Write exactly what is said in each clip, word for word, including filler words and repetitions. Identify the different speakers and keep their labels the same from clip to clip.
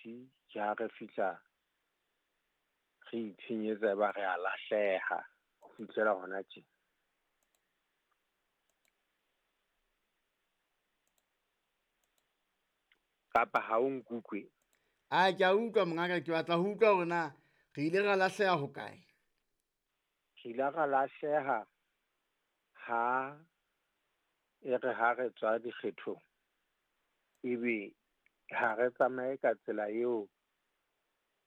Speaker 1: T ke ha re fihla re itshenyetsa ba re a lahleha ho fihlela hona tje. Kapa ha o nkutlwe?
Speaker 2: A ke a utlwa mongaka, ke batla ho utlwa hore na re ile ra lahleha hokae.
Speaker 1: Re ile ra lahleha ha e re ha re tswa dikgethong, ebe ha re tsamaye ka tsela eo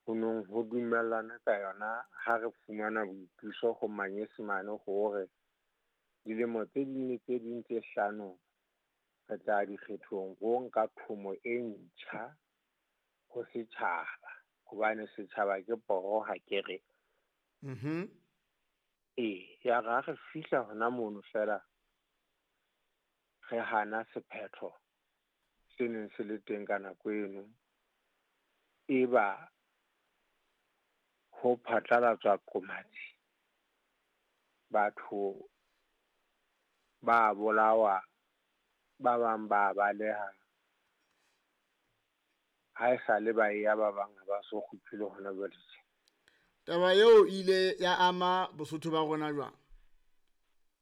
Speaker 1: ho nong ho dumellana ka yona ha re fumana boipuso ho manyesemane hore dilemo tse ding le tse ding tse hlano re tla dikgethong ho nka thomo e ntjha ho setjhaba, hobane setjhaba ke poho ha ke re.
Speaker 2: Mhm.
Speaker 1: Ee, ya re ha re fihla hona mono fela re hana sephetho se neng se le teng ka nako eno, e ba ho phatlalatswa qomatsi, batho ba bolawa, ba bang ba baleha. Ha e sale ba ya ba bang ha ba so kgutlele hona jwale tje.
Speaker 2: Taba eo ile ya ama Bosotho ba rona jwang?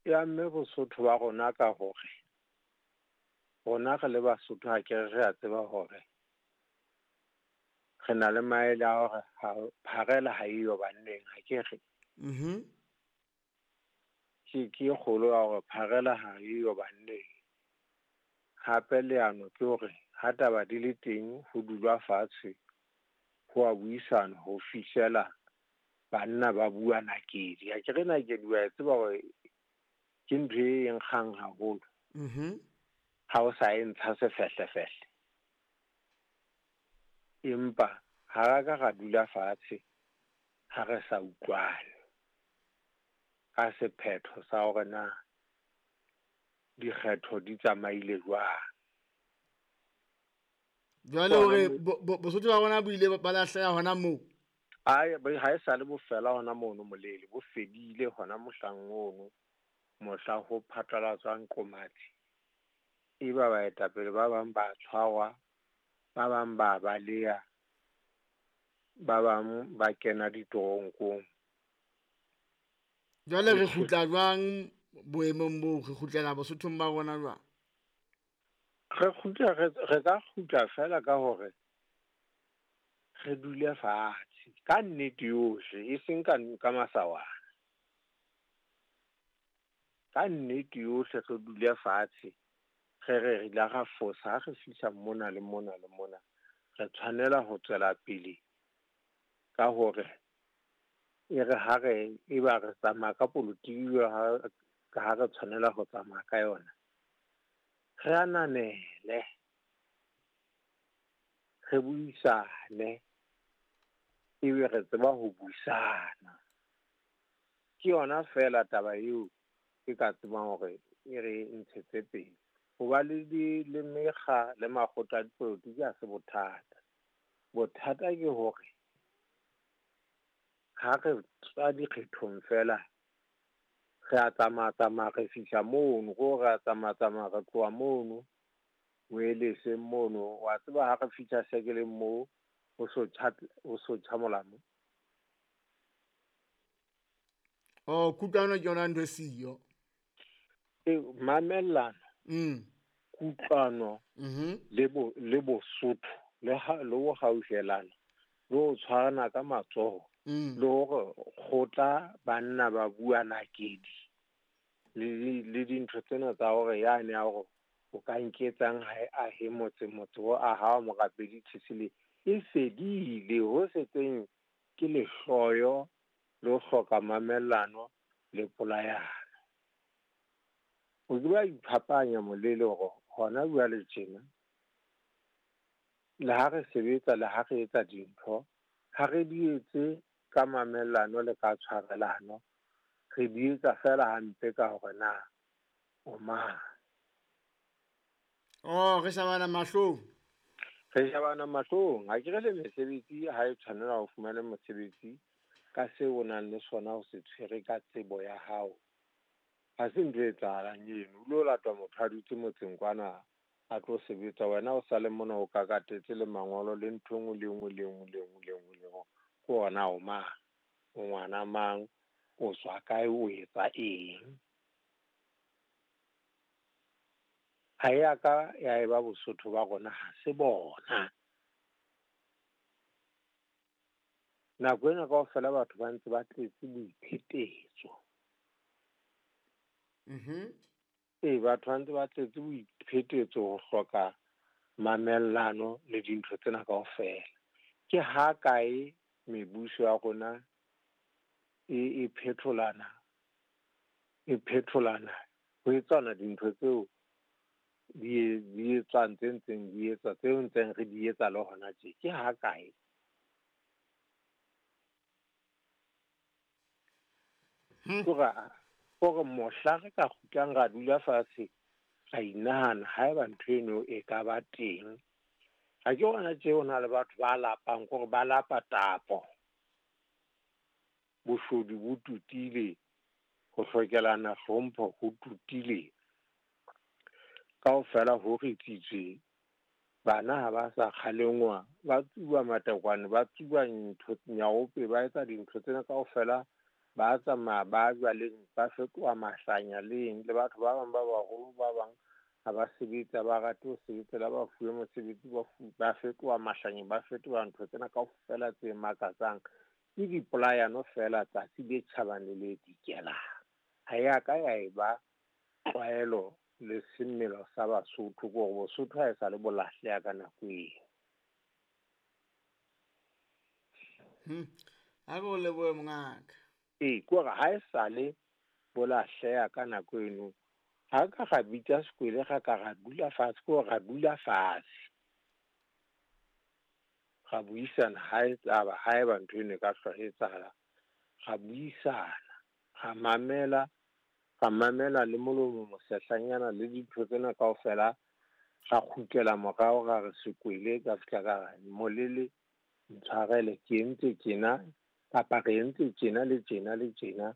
Speaker 1: E amme Bosotho ba rona ka hore rona re le Basotho ha ke re re a tseba hore re na le maele a hore ha pharela ha eyo banneng, ha ke re.
Speaker 2: Mhm.
Speaker 1: Ke ke e kgolo ya hore pharela ha eyo banneng. Hape leano ke hore ha taba di le teng ho dulwa fatshe ho a buisana ho fihlela banna ba bua nakedi. Ha ke re nakedi wa e tseba hore ke ntho e nkgang haholo.
Speaker 2: Mhm.
Speaker 1: Ha o sa e ntsha sefehlefehle. Empa ha ra ka ra dula fatshe ha re sa utlwane ka sephetho sa hore na dikgetho di tsamaile jwang.
Speaker 2: Jwale hore Bosotho ba rona bo ile ba lahleha hona moo?
Speaker 1: Ai, ha e sale bo fela hona mono molele, bo fedile hona mohlang ono, mohla ho phatlalatswang qomatsi. E ba baetapele ba bang ba tshwarwa, ba bang ba baleha, ba bang ba kena ditoronkong.
Speaker 2: Jwale re kgutla jwang boemong boo, re kgutlela Bosothong ba rona jwang?
Speaker 1: Re kgutla re re ka kgutla fela ka hore re dule fatshe ka nnete yohle, e seng ka ka masawana. Ka nnete yohle re dule fatshe, re re re ile ra fosa ha re fihla mona le mona le mona. Re tshwanela ho tswela pele ka hore e re ha re e ba re tsamaya ka polotiki ha ka ha re tshwanela ho tsamaya ka yona. Re ananele, re buisane, ebe re tseba ho buisana. Ke yona fela taba eo ke ka tsebang hore e re ntshetse pele. Hoba le di le mekga le makgotla a dipolotiki ha se bothata. Bothata ke hore ha re tswa dikgethong fela re a tsamaya tsamaya re fihla mono, ko re a tsamaya tsamaya re tloha mono Moeleseng mono. Wa tseba ha re fihla sekeleng moo ho so tjha, ho so tjha molamu.
Speaker 2: Oh, kutlwano ke yona ntho e siyo.
Speaker 1: E mamellano.
Speaker 2: Mm.
Speaker 1: Kutlwano
Speaker 2: Mhm.
Speaker 1: le bo le Bosotho le ha le ho hauhelana le ho tshwarana ka matsoho
Speaker 2: Mm.
Speaker 1: le hore kgotla banna ba bua nakedi le le dintho tsena tsa hore yane ya hore o ka nketsang ha e ahe motse motse o aha morapedi Tshetsile e fedile. Ho setseng ke lehloyo le ho hloka mamellano le polayano. O ke ba iphapanya molele hore hona jwale tjena le ha re sebetsa le ha re etsa dintho ha re di etse ka mamellano le ka tshwarelano, re di etsa fela hampe ka hore na o mang.
Speaker 2: Oh, re shebana mahlong.
Speaker 1: Re shebana mahlong. Ha ke re le mesebetsi ha e tshwanela ho fumana mosebetsi ka seo o nang le sona o se tshwere ka tsebo ya hao. Ha se ntho e etsahalang eno. O lo lata motho a dutse motseng kwana a tlo sebetsa, wena o sale mona o kakatetse le mangolo le ntho e nngwe le nngwe le nngwe le nngwe le nngwe le nngwe. Ke ona o mang, o ngwana mang, o tswa kae, o etsa eng. Ha ya ka ya eba Bosotho ba rona, ha se bona. Nako ena kaofela batho ba ntse ba tletse boiphetetso.
Speaker 2: Mhm.
Speaker 1: Ee, batho ba ntse ba tletse boiphetetso ho hloka mamellano le dintho tsena kaofela. Ke ha kae mebuso ya rona e, e phetholana, e phetholana ho etsana dintho tseo di, di etswang tse ntseng di etswa, tseo ntseng re di etsa le hona tje. Ke ha kae?
Speaker 2: Hmm.
Speaker 1: Kore, kore mohla re ka kgutlang ra dula fatshe, ra inahana haeba ntho eno e ka ba teng. Ha ke hona tje ho na le batho ba lapang, kore ba lapa tapo. Boshodu bo tutile, ho hlokelana hlompho ho tutile. Kaofela ho ritsitswe, bana ha ba sa kgalengwa, ba tsuba matekwane, ba tsuba ntho nyaope, ba etsa dintho tsena kaofela, ba tsamaya ba jwaleng, ba fetoha mahlanya leng, le batho ba bang ba baholo ba bang ha ba sebetsa, ba rate ho sebetsa, la ba fuwe mosebetsi, ba fu-, ba fetoha mahlanya, ba fetoha ntho tsena kaofela tse makatsang. Ke dipolayano fela tsatsi le tjhabang le le dikelang. Ha ya ka ya eba tlwaelo le semelo sa Basotho, ke hore Bosotho ha e sa le bo lahleha ka nako eo.
Speaker 2: Hmm. Ha re o lebohe mongaka.
Speaker 1: Ee, ke hore ha e sa le bo lahleha ka nako eno, ha ka ra bitsa sekwele, ra ka ra dula fatshe, ke hore ra dula fatshe. Ra buisana ha e tsaba, ha eba ntho eno e ka hlwa e etsahala, ra buisana, ra mamela, ra mamela le molomo mosehlanyana le dintho tsena kaofela, ra kgutlela morao, ra re sekwele, ka fihla ka re molele ntshwarele, ke entse tjena kapa re entse tjena le tjena le tjena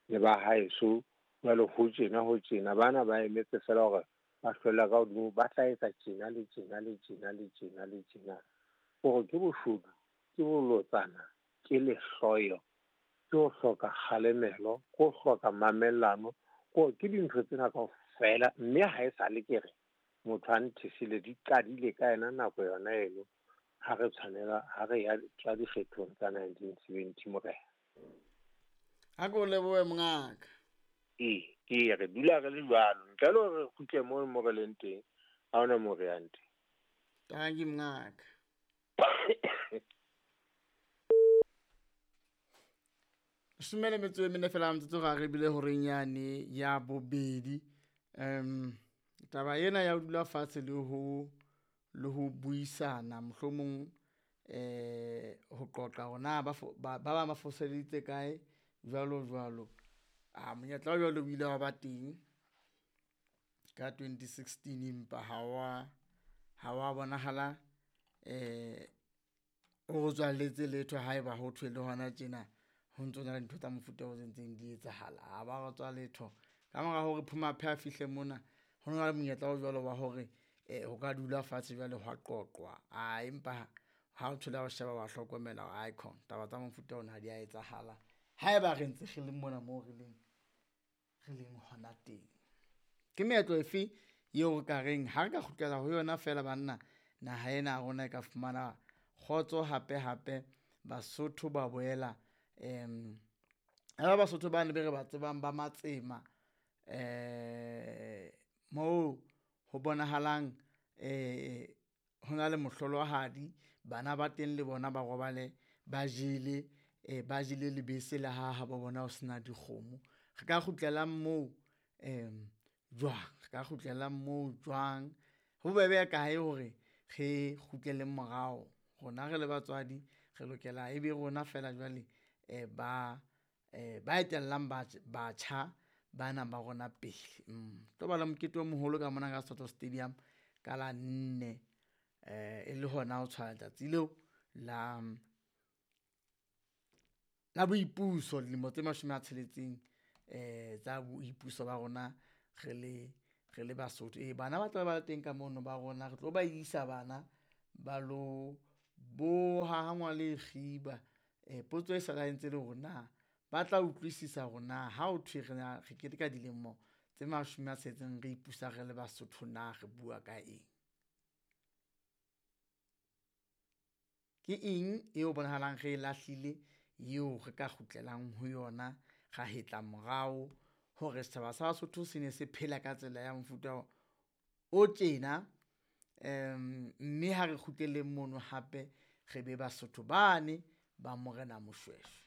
Speaker 1: le ba haeso, jwale ho tjena ho tjena, bana ba emetse fela hore ba hlwella ka hodimo, ba tla etsa tjena le tjena le tjena le tjena le tjena. Hore ke boshodu, ke bolotsana, ke lehloyo, ke ho hloka kgalemelo, ke ho hloka mamellano, ke, ke dintho tsena kaofela. Mme ha e sale ke re motho a nthesile, di qadile ka yena nako yona eno, ha re tshwanela, ha re ya tswa dikgethong tsa nineteen seventy morena.
Speaker 2: Ha ke o lebohe mongaka.
Speaker 1: Ee, ke re dula re le jwalo, ntle le hore re kgutle moo mo re leng teng, ha hona moo re yang teng.
Speaker 2: Tanki mongaka. Leshome le metso e mene fela metsotso ga re bile horeng yane ya bobedi. Um, taba ena ya ho dula fatshe le ho, le ho buisana, mohlomong, eh, ho qoqa hore na ba fo-, ba, ba bang ba foseditse kae, jwalo jwalo. Ah, monyetla o jwalo o ile wa ba teng ka twenty sixteen, empa ha wa, ha wa bonahala, eh, o re tswalletse letho haeba ho thwe le hona tjena ho ntso na le ntho tsa mofuta o ntseng di etsahala. Ha ba re tswa letho. Ka mora hore Phumaphe a fihle mona, ho na le monyetla o jwalo wa hore, eh, ho ka dula fatshe jwale hwa qoqwa. Ah, empa ha o thola o sheba wa hlokomela hore icon taba tsa mofuta ona ha di a etsahala haeba re ntse re le mona moo re leng, re leng hona teng. Ke meetlo efe eo re ka reng ha re ka kgutlela ho yona feela banna, naha ena ya rona e ka fumana kgotso hape hape, Basotho ba boela, em, ha ba Basotho ba ne be re ba tsebang ba Matsema, eh, moo ho bonahalang, eh, ho na le mohlolohadi, bana ba teng le bona ba robale ba jele, eh, ba jele lebese le ha ha bo bona ho sena dikgomo. Re ka kgutlelang moo, em, jwang? Re ka kgutlelang moo jwang? Ho bobebe kae hore re kgutlele morao? Rona re le batswadi re lokela ebe rona fela jwale, eh, ba, eh, ba etellang batj-, batjha bana ba rona pele. Mm. Tlo ba le mokete o moholo ka mona ka Soweto Stadium ka la nne, eh, e le hona ho tshwaya letsatsi leo la, la boipuso, dilemo tse mashome a tsheletseng, eh, tsa boipuso ba rona re le Re le Basotho. Ee, bana ba tla ba le teng ka mono ba rona, re tlo ba isa bana ba lo boha ha ngwale kgiba. Eh, potso e sala e ntse le hore na ba tla utlwisisa hore na ha ho thwe re na re keteka dilemo tse mashome a tsheletseng re ipusa re le Basotho na re bua ka eng? Ke eng eo bonahalang re e lahlile eo re ka kgutlelang ho yona, ra hetla morao hore setjhaba sa Basotho se ne se phela ka tsela ya mofuta o tjena, mme ha re kgutleleng mono hape re be Basotho bane ba Morena Moshweshwe.